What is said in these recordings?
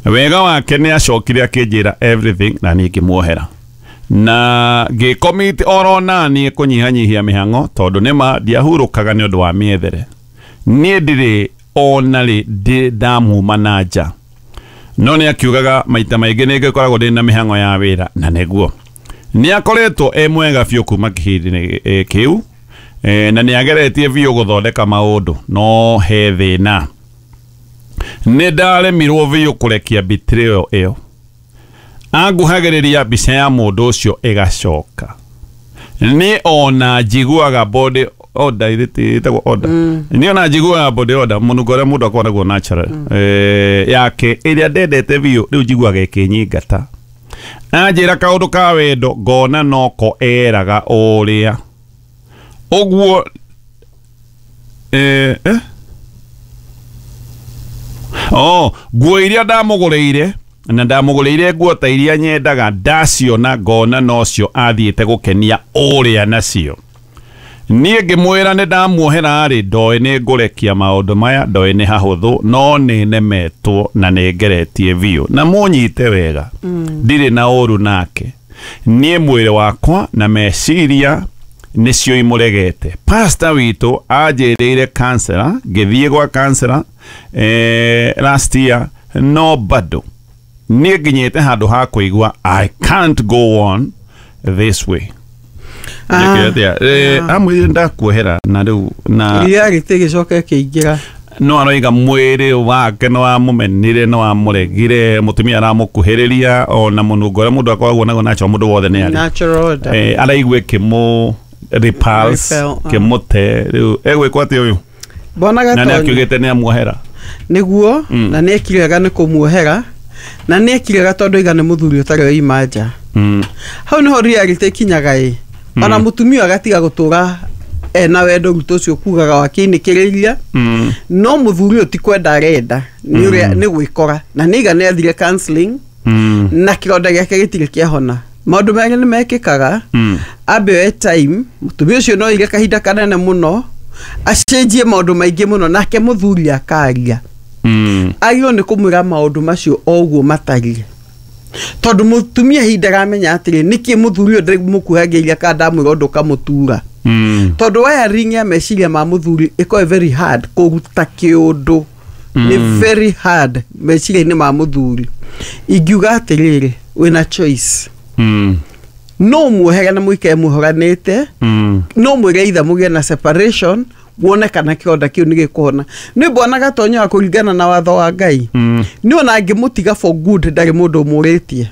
Wega wake nĩ acokire akĩnjĩra everything na niĩ ngĩmuohera na ngĩcommit oro naniĩ kũnyihanyihia mĩhang'o tondũ nĩma ndiahurũkaga nĩ ũndũ wa mĩethere. Niĩ ndirĩ ona rĩ ndĩ ndamuma na nja, no nĩ akiugaga maita maingĩ nĩ ngĩkoragwo ndĩ na mĩhang'o ya wĩra, na nĩguo nĩ akoretwo e mwega biũ kuma kĩhinda-inĩ kĩu, na nĩ ageretie biũ gũthondeka maũndũ, no he thĩna. Nĩ ndaremirwo biũ kũrekia betrayal ĩyo. Anguhagĩrĩria mbica ya mũndũ ũcio ĩgacoka. Niĩ ona njiguaga body odor, ĩtagwo odor. Niĩ ona njiguaga body odor, mũnungo ũrĩa mũndũ akoragwo naguo natural yake ĩrĩa ndendete biũ, rĩu njiguaga ĩkĩnyingata. Anjĩra kaũndũ ka wendo ngona noko eraga ũrĩa ũguo. Oh, nguo iria ndamũgũrĩire, na ndamũgũrĩire nguo ta iria nyendaga, ndaciona ngona nocio athiĩte gũkenia ũrĩa nacio. Niĩ ngĩmwĩra nĩ ndamuohera rĩ, ndoĩ nĩ ngũrekia maũndũ maya, ndoĩ nĩ hahũthũ, no nĩ nemetwo na nĩ ngeretie biũ. Na mũnyite wega, ndirĩ na ũru nake. Niĩ mwĩrĩ wakwa na meciria nĩcio imũregete. Pastor witũ anjĩrĩire counselor, ngĩthiĩ gwa counselor last year, no bado niĩ nginyĩte handũ ha kũigua I can't go on this way. Amwĩrire ndakuohera na rĩu na reality ĩgĩcoka ĩkĩingĩra. No aroiga mwĩrĩ wake nĩ wamũmenire, nĩ wamũregire, mũtumia aramũkuhĩrĩria ona mũnungo ũrĩa mũndũ akoragwo naguo natural, mũndũ wothe nĩ arĩ natural odor. Araigua ĩkĩmũ repulse, Repel, ah. kĩmũte. Rĩu egwĩkwo atĩa ũyũ? Mbona Na nĩ Gatonye akiugĩte nĩ amuohera. Nĩguo, na nĩ ekire wega nĩ kũmuohera, na nĩ ekire wega tondũ aiga nĩ mũthuri ũtarĩ waima nja. Hau nĩho reality ĩkinyaga ĩ, ona mũtumia agatiga gũtũra ena wendo rutũ ũcio kugaga wakĩinĩkĩrĩria. No mũthuri ũyũ ti kwenda arenda, nĩ ũrĩa nĩ gwĩkora, na nĩ aiga nĩ athire counseling na kĩronda gĩake gĩtirĩ kĩahona. Maũndũ merĩ nĩ mekĩkaga. Ambe oe time, mũtumia ũcio no aige kahinda kanene mũno acenjie maũndũ maingĩ mũno, nake mũthuri akaria. Agĩrĩirwo nĩ kũmwĩra maũndũ macio o ũguo matariĩ, tondũ mũtumia ihinda aramenya atĩrĩ, nĩkĩ mũthuri ũyũ ndĩmũkuhagĩrĩria kana ndamwĩra ũndũ ũkamũtura, tondũ wiring ya meciria ma mũthuri ĩkoragwo very hard kũruta kĩũndũ, nĩ very hard meciria-inĩ ma mũthuri. Ingiuga atĩrĩrĩ, wĩna choice. No muohere na mũikare muohoranĩte, no mwĩre itha mũgĩe na separation, wone kana kĩronda kĩu nĩ gĩkũhona. Nĩ mbona Gatonyo wa kũringana na watho wa Ngai, nĩ ona angĩmũtiga for good, ndarĩ mũndũ ũmũrĩtie.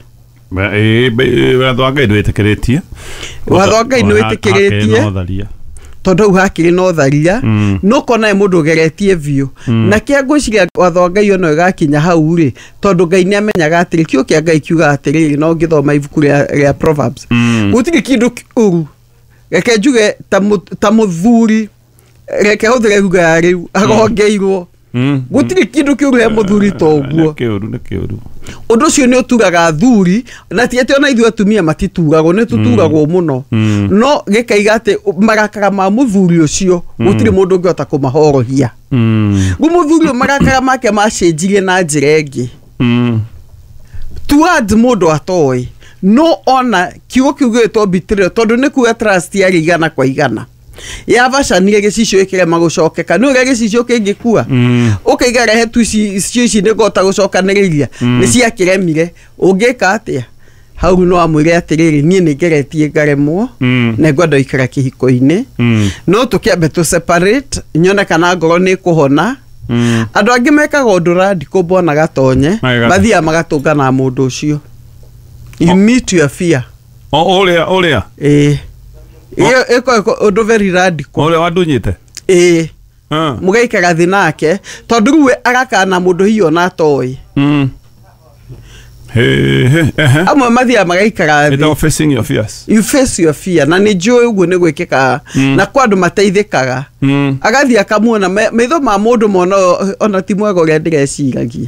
Watho wa Ngai ndwĩtĩkĩrĩtie. Watho wa Ngai nĩwĩtĩkĩrĩtie. Hakĩrĩ na ũtharia. Tondũ hau hakĩrĩ na ũtharia. No kona he mũndũ ũgeretie biũ na kĩa ngwĩciria watho wa Ngai ona ũgakinya hau rĩ, tondũ Ngai nĩ amenyaga atĩrĩ, kiugo kĩa Ngai kiugaga atĩrĩrĩ, no ngĩthoma ibuku rĩa Proverbs, gũtirĩ kĩndũ kĩũru. Reke njuge ta mũthuri, reke hũthĩre ruga ya rĩu, agongeirwo. Gũtirĩ kĩndũ kĩũru he mũthuri ta ũguo. Nĩ kĩũru, nĩ kĩũru. Ũndũ ũcio nĩ ũturaga athuri, na ti atĩ ona ithuĩ atumia matituragwo, nĩ tũturagwo mũno, no gĩkaiga atĩ marakara ma mũthuri ũcio gũtirĩ mũndũ ũngĩhota kũmahorohia. Rĩu mũthuri ũyũ marakara make macenjirie na njĩra ĩngĩ towards mũndũ atoĩ, no ona kiugo kĩu gĩgĩtwo betrayal, tondũ nĩ kuga trust yarĩ igana kwa igana yabacanire gĩcicio ĩkĩrema gũcokeka. Nĩ ũrĩa gĩcicio kĩngĩkua, ũkaiga rehe tu ici icio ici nĩ ngũhota gũcokanĩrĩria, nĩ ciakĩremire. Ũngĩka atĩa hau? No amwĩre atĩrĩrĩ, niĩ nĩ ngeretie ngaremwo, na ngwenda gũikara kĩhiko-inĩ, no tũkĩambe tũ separate nyone kana ngoro nĩ ĩkũhona. Andũ angĩ mekaga ũndũ radical, mbona Gatonye. Mageka atĩa? Mathiaga magatũngana na mũndũ ũcio. You meet your fear. O ũrĩa ũrĩa Ĩĩ, ĩyo ĩkoragwo ũndũ very radical. Ũrĩa wandunyĩte. Ĩĩ, mũgaikara thĩ nake, tondũ rĩu we agakana mũndũ hihi ona atoĩ. He he ehe. Amwe mathiaga magaikara thĩ. Ĩtagwo facing your fears. You face your fear, na nĩ njũĩ ũguo nĩ gwĩkĩkaga na kwa andũ mateithĩkaga. Agathiĩ akamuona maitho ma mũndũ mona ona ti mwega ũrĩa ndĩreciragia,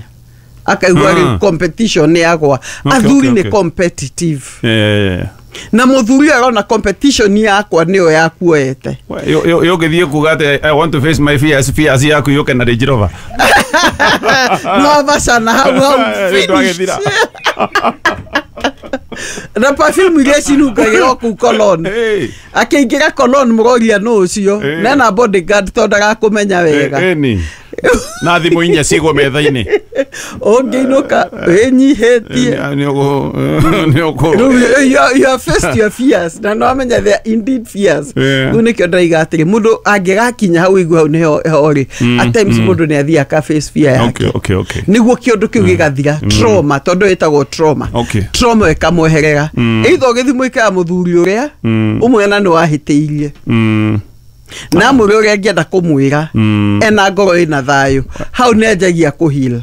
akaigua rĩu competition nĩ yagwa. Athuri nĩ competitive. Yeah. Na muthuri arona competition yakwa niyo yakuoete. Yũgĩthiĩ kuga atĩ I want to face my fears, fears yaku yũke na Range Rover. No bacana hau hau finish. Na perfume iria cinungagĩra kũu cologne. Akĩingĩra cologne mũroria nũ ũcio nena bodyguard tondũ ndagakũmenya wega. Na thimũ inya cigwo metha-inĩ. Ũngĩinũka wĩnyihĩtie. You have faced your fears. Na no amenya they are indeed fears. Rĩu nĩkĩo ndĩraiga atĩrĩ mũndũ angĩgakinya hau igua hau nĩho rĩ, at times mũndũ nĩ athiaga aka face fear yake. Nĩguo kĩũndũ kĩu gĩgathira. Trauma, tondũ ĩtagwo trauma. Trauma ĩkamweherera. Either ũgĩthiĩ mũikara mũthuri ũrĩa ũmwe na nĩ wahĩtĩirie. Na mũrĩ ũrĩa angĩenda kũmwĩra ena ngoro ĩna thayũ hau nĩ anjagia kũheal.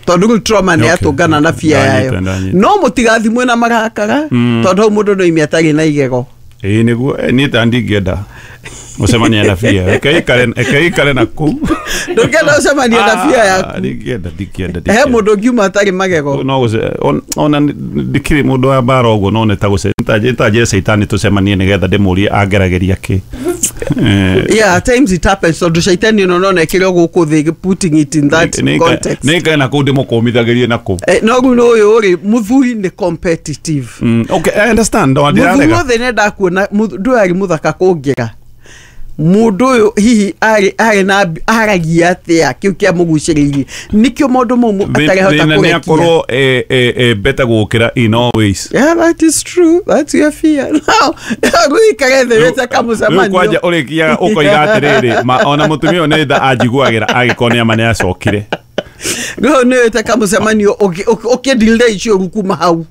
Tondũ rĩu trauma nĩ yatũngana na fear yayo. No mũtigathimwe na marakara tondũ hau mũndũ no ime atarĩ na igego. Ĩĩ nĩguo niĩ ta ndingĩenda gũcemania na fear. Reke ikare na kũu. Ndũngĩenda gũcemania na fear yaku. Ndingĩenda. He mũndũ ũngiuma atarĩ magego. No ona ndikĩrĩ mũndũ wa mbara ũguo no nĩ ta njĩre caitani tũcemanie nĩgetha ndĩmũrie angeragĩria kĩ. Yeah, at times it happens tondũ caitani no nona ĩkĩrĩ gũkũ thĩ putting it in that context. Nĩ ikare na kũu ndĩmũkũmithagĩrie na kũu. No rĩu ũyũ rĩ mũthuri nĩ competitive. Okay, I understand. Mũthuri wothe nĩendaga kuona ndũ arĩ mũthaka kũngĩra. Mũndũ ũyũ hihi arĩ na aragia atĩa kĩu kĩamũgucĩrĩirie nĩkĩo maũndũ mau atarehota kũrekia. Nĩ akorwo better gũkĩra in all ways. Yeah, that is true. That's your fear. Now, rĩu ikare thĩ wĩte kamũcemanio. Rĩu kwanja ũrĩkiaga ũkoiga atĩrĩrĩ ona mũtumia ũyũ nĩ tha anjiguagĩra angĩkorwo nĩ ama nĩ acokire. Rĩu nĩ wĩte kamũcemanio ũkĩdeal icio rĩu kuma hau.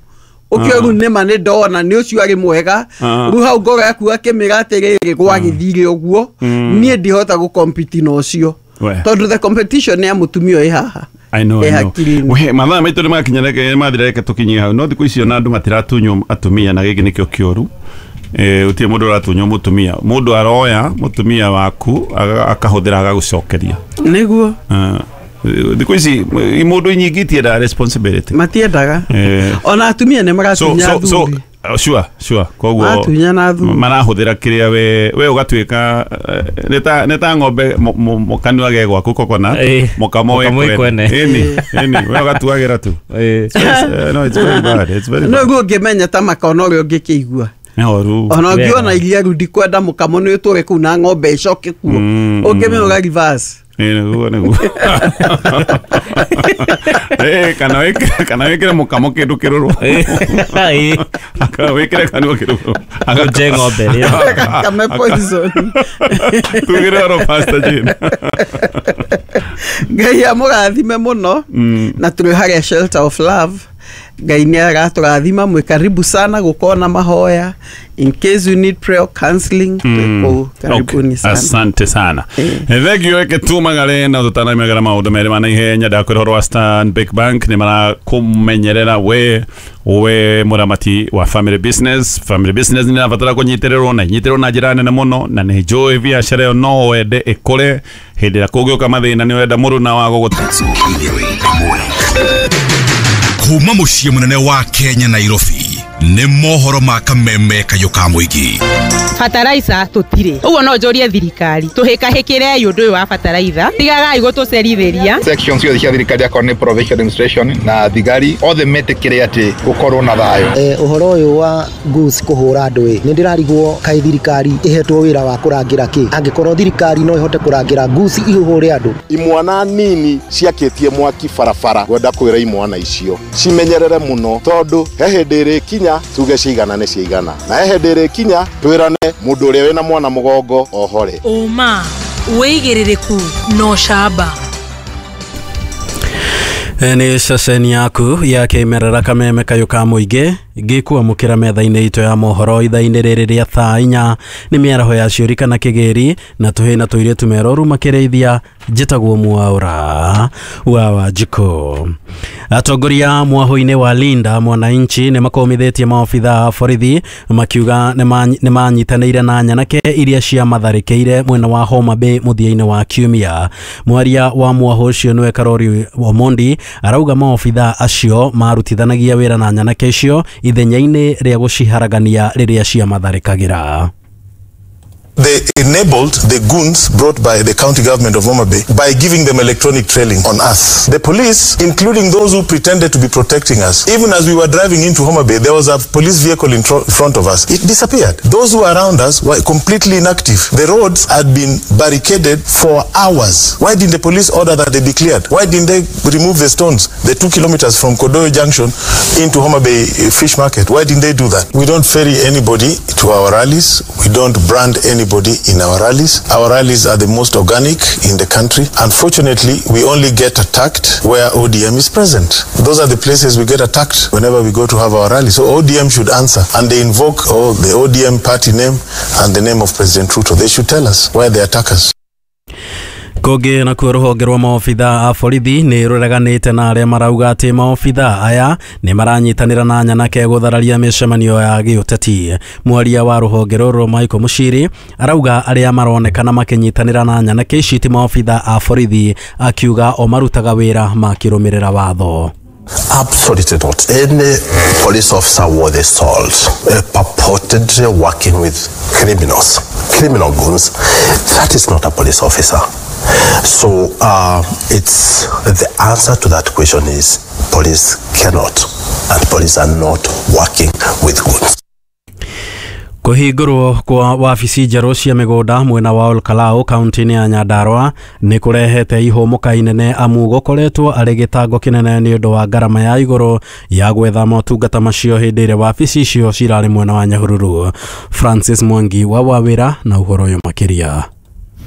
Ũkĩoru nĩma nĩ ndona nĩ ũcio arĩ mwega rĩu hau ngoro yaku akĩmĩra atĩrĩrĩ gwagĩthire ũguo niĩ ndihota gũcompete na ũcio tondũ the competition ya mũtumia ĩ haha. I know, I know. We mathaa maitũ nĩmakinya reke mathira reke tũkinyie hau no thikũ icio na andũ matiratunywo atumia na gĩkĩ nĩkĩo kĩũru. Gũtirĩ mũndũ ũratunywo mũtumia. Mũndũ aroya mũtumia waku akahũthĩra agagũcokeria. Nĩguo. Thikũ ici mũndũ nyingĩ itiendaga responsibility. Matiendaga. Ona atumia nĩ maratunya athuri. Sure koguo maratunya athuri. Marahũthĩra kĩrĩa we ũgatuĩka nĩ ta ng'ombe mũkanua ge gwaku coconut mũkamo we kwene. Ĩni we ũgatuagĩra tu. No, it's very bad. It's very bad. No rĩu ũngĩmenya ta makona ũrĩa ũngĩkĩigua. Ona ũngĩona iria rĩu ndikwenda mũkamo nĩ ũtũre kũu na ng'ombe ĩcoke kuo. Ũngĩmenya ũga reverse. Nĩguo. Kana wĩkĩre mũkamo kĩndũ kĩrũrũ. Wĩkĩre kanua kĩrũrũ. Nje ng'ombe rĩ. Kame poison. Tugĩre oro Pastor Jane. Ngai amũrathime mũno na tũrĩ harĩa Shelter of Love. Ngai nĩ aratũrathima mwĩ karibu sana gũkorwo na mahoya. In case you need prayer counseling, karibuni sana. Asante sana. Thank you eke tumagare na tũtanaimagara maũndũ merĩ ma naihenya ndakwĩra ũhoro wa Stanbic Bank nĩ marakũmenyerera we mũramati wa family business. Family business nĩ ĩrabatara kũnyitĩrĩrwo na inyitĩrĩrwo na njĩra nene mũno na nĩ njũĩ biacara ĩyo no wende ĩkũre hĩndĩ ĩrĩa kũngĩũka mathĩna nĩ ũrenda mũruna wa gũgũ kuma muciĩ mũnene wa Kenya Nairobi nĩ mohoro ma kameme kayũ ka mũingĩ. Bataraitha tũtirĩ ũguo no njũrie thirikari tũhĩkahĩkĩre ũndũ ũyũ wa bataraitha tigagai gũtũcerithĩria. Section ciothe cia thirikari akorwo nĩ provincial administration na thigari othe metĩkĩre atĩ gũkorwo na thayũ. Ũhoro ũyũ wa goose kũhũra andũ ĩ nĩ ndĩrarigwo kaĩ thirikari ĩhetwo wĩra wa kũrangĩra kĩ angĩkorwo thirikari no ĩhote kũrangĩra goose ihũhũre andũ. Imwana nini ciakĩtie mwaki barabara ngwenda kwĩra imwana icio cimenyerere mũno tondũ he hĩndĩ ĩrĩkinya tuge cigana nĩ cigana na he hĩndĩ ĩrĩkinya twĩrane mũndũ ũrĩa wĩna mwana mũgongo ohore. Ũma wĩigĩrĩrĩku no camba. Nĩ ceceni yaku ya kĩmerera kameme kayũ ka mũingĩ ngĩkwamũkĩra metha-inĩ itũ ya mohoro ithaa-inĩ rĩrĩ rĩa thaa inya nĩ mĩaraho ya ciũri kana kĩgĩri na tũhĩ na tũirĩtu meroru makĩrĩithia Njĩtagwo Mwaura wa Wanjikũ. Atongoria mwaho-inĩ wa Linda Mwananchi nĩ makomithĩtie maobitha a borithi makiuga nĩ manyitanĩire na nyanake iria ciamatharĩkĩire mwena wa Homa Bay mũthia-inĩ wa kiumia. Mwaria wa mwaho ũcio nĩwe Karori Omondi arauga maobitha acio marutithanagia wĩra na nyanake icio ithenya-inĩ rĩa gũciharagania rĩrĩa ciamatharĩkagĩra. They enabled the goons brought by the county government of Homa Bay by giving them electronic trailing on us. The police, including those who pretended to be protecting us, even as we were driving into Homa Bay, there was a police vehicle in front of us. It disappeared. Those who were around us were completely inactive. The roads had been barricaded for hours. Why didn't the police order that they be cleared? Why didn't they remove the stones, the 2 kilometers from Kodoyo Junction into Homa Bay Fish Market? Why didn't they do that? We don't ferry anybody to our rallies. We don't brand anybody in our rallies. Our rallies are the most organic in the country. Unfortunately, we only get attacked where ODM is present. Those are the places we get attacked whenever we go to have our rally. So ODM should answer, and they invoke the ODM party name and the name of President Ruto. They should tell us why they attack us. Kũngĩ nakuo rũhonge rwa maobitha a borithi nĩ rũreganĩte na arĩa marauga atĩ maobitha aya nĩ maranyitanĩra na nyanake gũthararia mĩcemanio ya gĩũteti. Mwaria wa rũhonge rũrũ Michael Mushiri arauga arĩa maronekana makĩnyitanĩra na nyanake ici ti maobitha a borithi, akiuga o marutaga wĩra makĩrũmĩrĩra watho. Absolutely not. Any police officer worth his salt purportedly working with criminals, criminal goons, that is not a police officer. So it's the answer to that question is police cannot, and police are not working with goons. Kũhingũrwo kwa wabici njerũ cia mĩgũnda mwena wa Olkalau kaunti-inĩ ya Nyandarua nĩ kũrehete ihũmũka inene amu gũkoretwo arĩ gĩtango kĩnene nĩ ũndũ wa ngarama ya igũrũ ya gwetha motungata macio hĩndĩ ĩrĩa wabici icio cirarĩ mwena wa Nyahururu. Francis Mwangi wa Wawĩra na ũhoro ũyũ makĩria.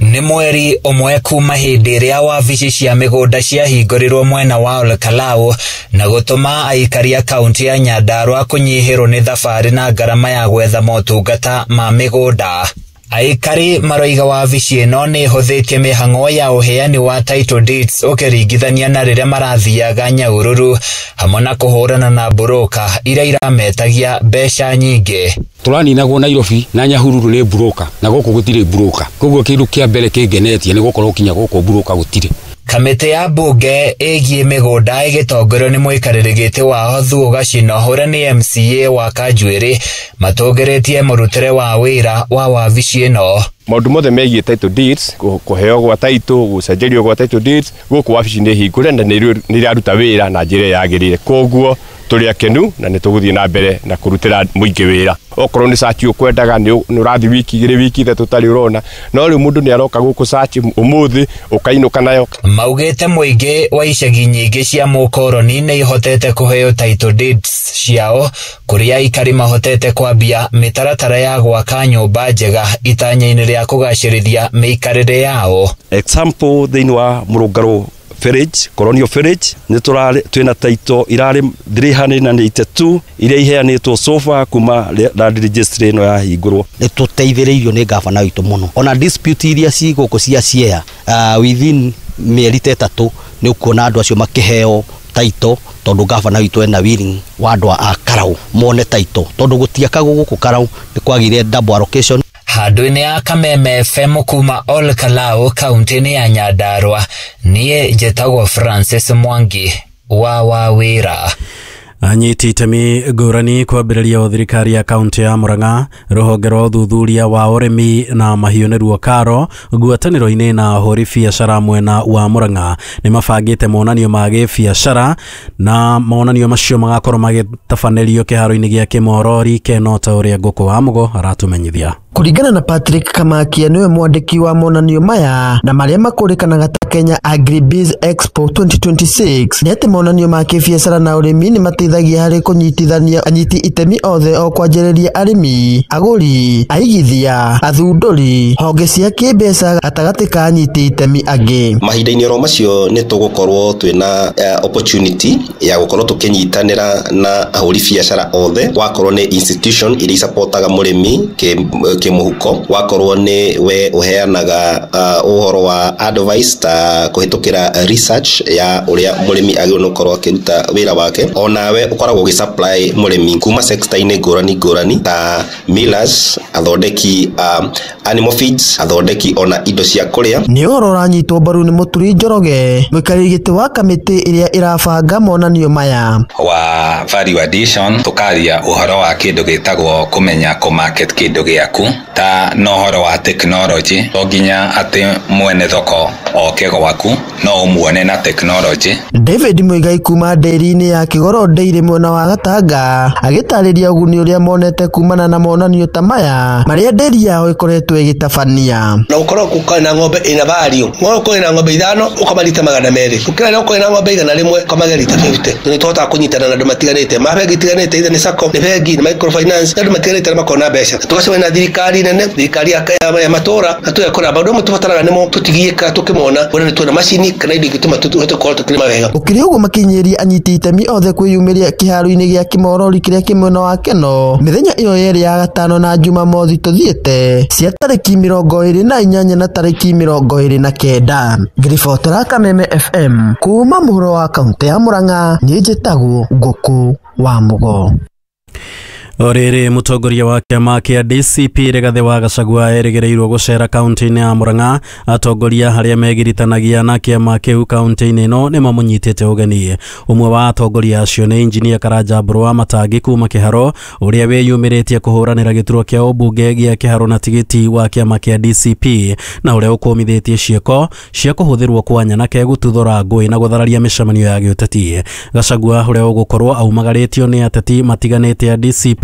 Nĩ mweri ũmwe kuma hĩndĩ ĩrĩa wabici cia mĩgũnda ciahingũrirwo mwena wa Olkalau na gũtũma aikari a kaunti ya Nyandarua kũnyihĩrwo nĩ thabarĩ na ngarama ya gwetha motungata ma mĩgũnda. Aikari maroiga wabici ĩno nĩ ĩhũthĩtie mĩhang'o ya ũheani wa title deeds ũkĩringithania na rĩrĩa marathiaga Nyahururu, hamwe na kũhũrana na mburũka iria irametagia mbeca nyingĩ. Tũraninagwo Nairobi na Nyahururu nĩ mburũka na gũkũ gũtirĩ mburũka, koguo kĩndũ kĩa mbere kĩngenetie nĩ gũkorwo kinya gũkũ mburũka gũtirĩ. Kamĩtĩ ya mbunge ĩgiĩ mĩgũnda ĩgĩtongorio nĩ mũikarĩri gĩtĩ wa Thuo Gacino ũrĩa nĩ MCA wa Kanjuĩrĩ matũngĩrĩtie mũrutĩre wa wĩra wa wabici ĩno. Maũndũ mothe megiĩ title deeds, kũheo gwa title, gũcenjerio gwa title deeds, gũkũ wabici nĩ hingũre na nĩ iraruta wĩra na njĩra yagĩrĩire, koguo tũrĩ akenu na nĩ tũgũthiĩ na mbere na kũrutĩra mũingĩ wĩra. Okorwo nĩ search ũkwendaga nĩ ũrathiĩ wiki igĩrĩ wiki ithatũ ũtarĩ ũrona, no rĩu mũndũ nĩ aroka gũkũ search ũmũthĩ ũkainũka nayo. Maugĩte mũingĩ wa icagi nyingĩ cia mũkoroni nĩ ihotete kũheo title deeds ciao, kũrĩa aikari mahotete kwambia mĩtaratara ya gwaka nyũmba njega itanya-inĩ rĩa kũgacĩrithia mĩikarĩre yao. Example thĩinĩ wa Mũrũngarũ village, Colonial village, nĩ tũrarĩ twĩna title irarĩ 382 iria iheanĩtwo sofa kuma land registry ĩno yahingũrwo. Nĩ tũteithĩrĩirio nĩ gavana witũ mũno, ona dispute iria ci gũkũ cia share within mĩeri ta ĩtatũ nĩ ũkuona andũ acio makĩheo title, tondũ gavana witũ ena willing wa andũ a Karau mone title, tondũ gũtiakagwo gũkũ Karau nĩ kwagire double allocation. Handũ-inĩ ya Kameme FM kuma Olkalau kaunti-inĩ ya Nyandarua, niĩ njĩtagwo Francis Mwangi wa Wawĩra. Anyiti itemi ngũrani kwambĩrĩria thirikari ya kaunti ya Murang'a, rũhonge rwa ũthuthuria wa ũrĩmi na mahiũ nĩruo KARO, ngwatanĩro-inĩ na ahũri biacara mwena wa Murang'a nĩ mabangĩte monanio ma gĩbiacara, na monanio macio magakorwo magĩtabanĩrio kĩharo-inĩ gĩa Kĩmorori Keno, ta ũrĩa Ngũkũ wa Mũgo aratũmenyithia. Kũringana na Patrick Kamakia, niwe mwandĩki wa monanio maya na marĩa makũrĩkanaga ta Kenya Agribiz Expo 2026, nĩ atĩ monanio ma kĩbiacara na ũrĩmi nĩ mateithagia harĩ kũnyitithania anyiti itemi othe, o kwanjĩrĩria arĩmi, agũri, aigithia, athundũri, honge cia kĩmbeca gatagatĩ ka anyiti itemi angĩ. Mahinda-inĩ oro macio nĩ tũgũkorwo twĩna opportunity ya gũkorwo tũkĩnyitanĩra na ahũri biacara othe, wakorwo nĩ institution iria icapotaga mũrĩmi kĩmũhuko, wakorwo nĩ we ũheanaga ũhoro wa advice ta kũhĩtũkĩra research ya ũrĩa mũrĩmi agĩrĩirwo nĩ gũkorwo akĩruta wĩra wake, onawe ũkoragwo ũgĩsupply mũrĩmi kuma sector-inĩ ngũrani ngũrani ta millers, athondeki animal feeds, athondeki ona indo cia kũrĩa. Nĩ ũhoro ũranyitwo mbaru nĩ Mũturi Njoroge, mũikarĩri gĩtĩ wa kamĩtĩ ĩrĩa ĩrabanga monanio maya. Wa value addition tukaria ũhoro wa kĩndũ gĩtagwo kũmenya kũ market kĩndũ gĩaku ta no ũhoro wa technology, to nginya atĩ mwene thoko oke gwaku, no ũmuone na technology. David Muigai kuma ndĩri-inĩ ya Kĩgoro Dairy mwena wa Gatanga agĩtarĩria ũguni ũrĩa monete kumana na monanio ta maya marĩa ndĩri yao ĩkoretwo ĩgĩtabania. Na ũkorwo ũkorwo na ng'ombe ĩna value, ũkorwo na ng'ombe 5 ũkamarita 200, ũkĩra na ũkorwo na ng'ombe 100 ũkamagĩa 50. Nĩ tũhotaga kũnyitana na andũ matiganĩte, mabengi itiganĩte, either nĩ SACCO, nĩ bengi, nĩ microfinance, andũ matiganĩte arĩa makoragwo na mbeca. Tũgacemania na thirikari nene, thirikari ya matũra, na tũgekora maũndũ amwe tũbataraga nĩmo tũtigiĩkaga tũkĩmona, kuona nĩ tuona macini kana indo ingĩtũma tũhote gũkorwo tũkĩrĩma wega. Ũkĩrĩ ũguo makinyĩria anyiti itemi othe kwĩyumĩria kĩharo-inĩ gĩa Kĩmorori kĩrĩa kĩ mwena wa Keno mĩthenya ĩyo yerĩ ya gatano na Jumamothi tũthiĩte cia tarĩki 28 na tarĩki 29. Ngĩribotera Kameme FM kuma mũhuro wa kaũntĩ ya Murang'a, niĩ njĩtagwo Ngũkũ wa Mũgo. Orĩrĩ mũtongoria wa kĩama kĩa DCP Rigathĩ wa Gachagua erĩgĩrĩirwo gũcera kaũntĩ-inĩ ya Murang'a. Atongoria arĩa megiritanagia na kĩama kĩu kaũntĩ-inĩ ĩno nĩ mamũnyitĩte ũgeni. Ũmwe wa atongoria acio nĩ injinia Karanja Mbũrũ wa Matangi kuma Kĩharo, ũrĩa wĩyumĩrĩtie kũhũranĩra gĩturwa kĩa ũmbunge gĩa Kĩharo na tigiti wa kĩama kĩa DCP, na ũrĩa ũkũmithĩtie ciĩko cia kũhũthĩrwo kwa nyanake gũtuthũra ngũĩ na gũthararia mĩcemanio ya gĩũteti. Gachagua ũrĩa ũgũkorwo aumagarĩtio nĩ ateti matiganĩte a DCP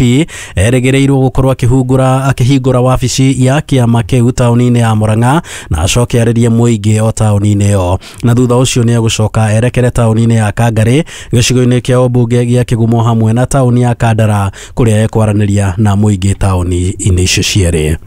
erĩgĩrĩirwo gũkorwo akĩhingũra wabici ya kĩama kĩu taũni-inĩ ya Murang'a na acoke arĩrie mũingĩ o taũni-inĩ ĩyo, na thutha ũcio nĩ egũcoka erekere taũni-inĩ ya Kangarĩ gĩcigo-inĩ kĩa ũmbunge gĩa Kĩgumo hamwe na taũni ya Kandara kũrĩa ekwaranĩria na mũingĩ taũni-inĩ icio cierĩ.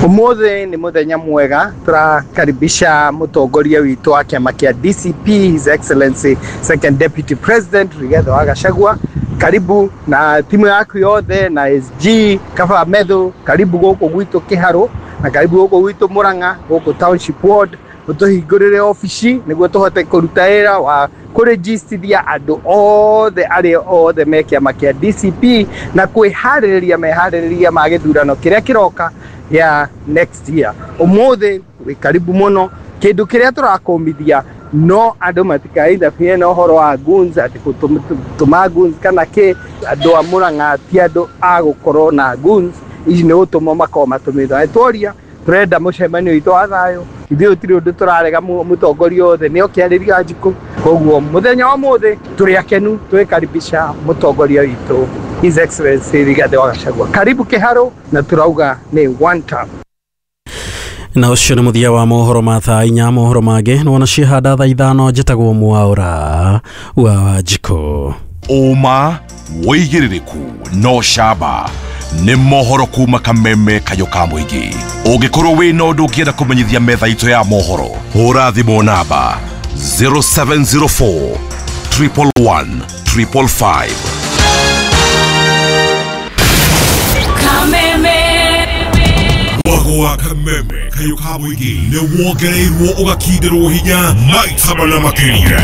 Umuthi ni muthenya mwega, turakaribisha mutongoria witu wa kiama kia DCP, His Excellency Second Deputy President Rigathi wa Gachagua. Karibu na timu yaku yothe na SG Kaba Methu, karibu guku gwitu Kiharo na karibu guku gwitu Murang'a, guku Township Ward, utuhingurire ofici niguo tuhote kuruta wira wa kũrĩgistithia andũ othe arĩa othe me kĩama kĩa DCP na kwĩharĩrĩria meharĩrĩria ma gĩthurano kĩrĩa kĩroka ya next year. Umuthi wĩ karibu mũno, kĩndũ kĩrĩa tũrakũmithia no andũ matikainterfere na ũhoro wa goons, atĩ gũtũma goons kana kĩ. Andũ a Murang'a ti andũ a gũkorwo na goons, ici nĩ gũtũmwo makorwo matũmĩtwo. Tworia tũrenda mũcemanio witũ wa thayũ, ithuĩ gũtirĩ ũndũ tũrarega mũtongoria othe nĩ oke arĩria Wanjikũ. Koguo mũthenya wa ũmũthĩ tũrĩ akenu twĩkaribisha mũtongoria witũ His Excellency Rigathi wa Gachagua. Karibu Kĩharo, na tũrauga nĩ one term. Na ũcio nĩ mũthia wa mohoro ma thaa 4. Mohoro mangĩ nĩ wona ciehanda thaa 5. Njĩtagwo Mwaũra wa Wanjikũ. Ũma wĩigĩrĩrĩku no camba nĩ mohoro kuma Kameme kayũ ka mũingĩ. Ũngĩkorwo wĩna ũndũ ũngĩenda kũmenyithia metha itũ ya mohoro, hũra thimũ namba 0704 111 555. Mwago wa Kameme kayũ ka mũingĩ nĩ wongereirwo ũgakindĩrwo hinya maita mana makĩria.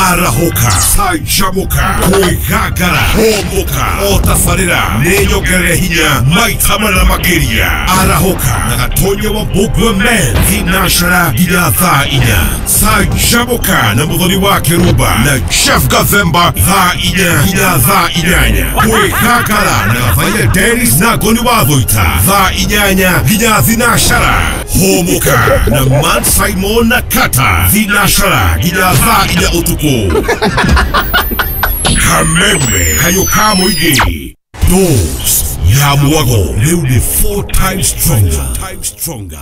Arahũka, canjamũka, kwĩgangara, hũmũka, o tabarĩra nĩ nyongerere hinya maita mana makĩria. Arahũka na Gatonya wa Mbũgua Men thinashara nginya thaa 4. Canjamũka na Mũthoni wa Kĩrumba na Jeff Gathemba thaa 4 nginya thaa 8. Kwĩgangara na Gathaia Dennis na Ngoni wa Thũita thaa 8 nginya thinashara. Hũmũka na Man Simon na Kata thinashara nginya thaa 4 ũtukũ. Kameme kayũ ka mũingĩ, dose ya mwago rĩu nĩ 4 times stronger.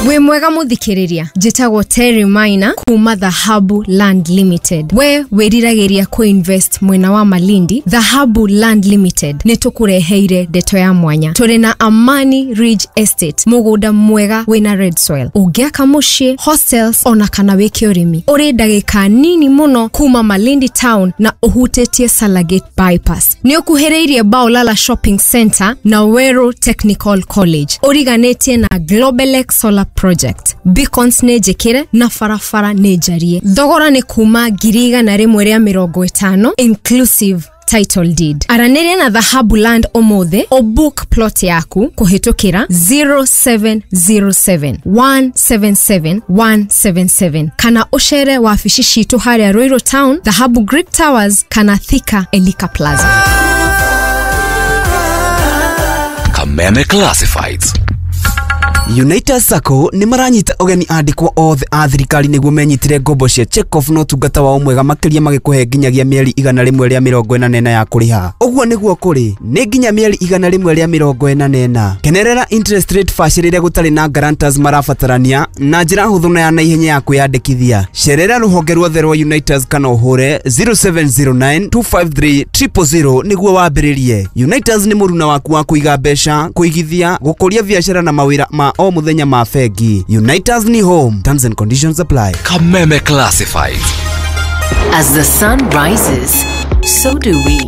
Wĩ mwega mũthikĩrĩria, njĩtagwo Terry Maina kuma Dhahabu Land Limited. We wĩriragĩria kũinvest mwena wa Malindi, Dhahabu Land Limited nĩ tũkũreheire ndeto ya mwanya. Tũrĩ na Amani Ridge Estate, mũgũnda mwega wĩna red soil, ũngĩaka mũciĩ, hostels ona kana wĩke ũrĩmi. Ũrĩ ndagĩka nini mũno kuma Malindi town na ũhutĩtie Salagate bypass. Nĩ ũkuhĩrĩirie Baolala Shopping Center na Weru Technical College. Ũriganĩtie na Globelex Solar Project. Beacons nĩ njĩkĩre na barabara nĩ njarie. Thogora nĩ kuma 150,000 inclusive title deed. Aranĩria na Dhahabu Land ũmũthĩ ũbook plot yaku kũhĩtũkĩra 0707 177 177 kana ũcere wabici citũ harĩa Ruiru Town, Dhahabu Greek Towers kana Thika Elika Plaza. Kameme Classifieds. United Sacco nĩ maranyita ũgeni andĩkwo othe a thirikari nĩguo menyitĩre ngombo cia check-off na ũtungata wao mwega makĩria magĩkũhe nginyagia mĩeri 144 ya kũrĩha. Ũguo nĩguo kũrĩ nĩ nginya mĩeri 144. Kenerera interest rate bacĩrĩre gũtarĩ na guarantors marabatarania na njĩra hũthũ na ya naihenya ya kwĩyandĩkithia. Cerera rũhonge ruothe rwa Unitas kana ũhũre 0709 253 000 nĩguo wambĩrĩrie. Unitas nĩ mũruna waku wa kũiga mbeca, kũigithia, gũkũria biacara na mawĩra ma o mũthenya ma bengi. Unitas ni home. Terms and conditions apply. Kameme Classifieds. As the sun rises, so do we,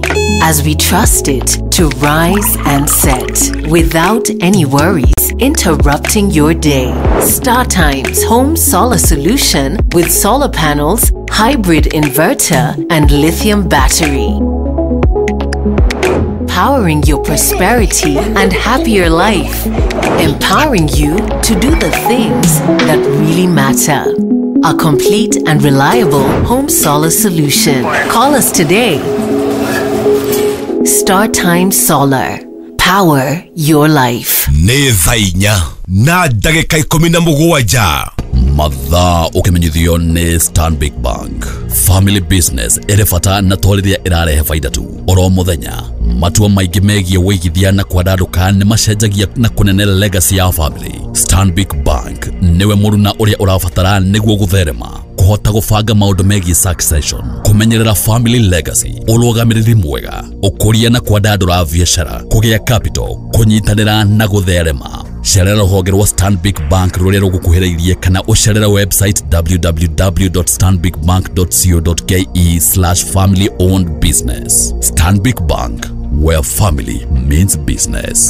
as we trust it to rise and set without any worries interrupting your day. Star Times Home Solar Solution with solar panels, hybrid inverter, and lithium battery. Powering your prosperity and happier life. Empowering you to do the things that really matter. A complete and reliable home solar solution. Call us today. Star Times Solar. Power your life. Nĩ thaa 4 na ndagĩka 17. Mathaa ũkĩmenyithio nĩ Stanbic Bank. Family business ĩrĩ bata na to rĩrĩa ĩrarehe baida tu. Oro mũthenya matua maingĩ megiĩ wĩigithia na kwandandũka nĩ macenjagia na kũnene legacy ya family. Stanbic Bank nĩwe mũruna ũrĩa ũrabatara nĩguo gũtherema, kũhota gũbanga maũndũ megiĩ succession, kũmenyerera family legacy, ũrũgamĩrĩri mwega, ũkũria na kwandandũra biacara, kũgĩa capital, kũnyitanĩra na gũtherema. Cerera rũhonge rwa Stanbic Bank rũrĩa rũgũkuhĩrĩirie kana ũcerere website www.stanbicbank.co.ke/family owned business. Stanbic Bank, where family means business.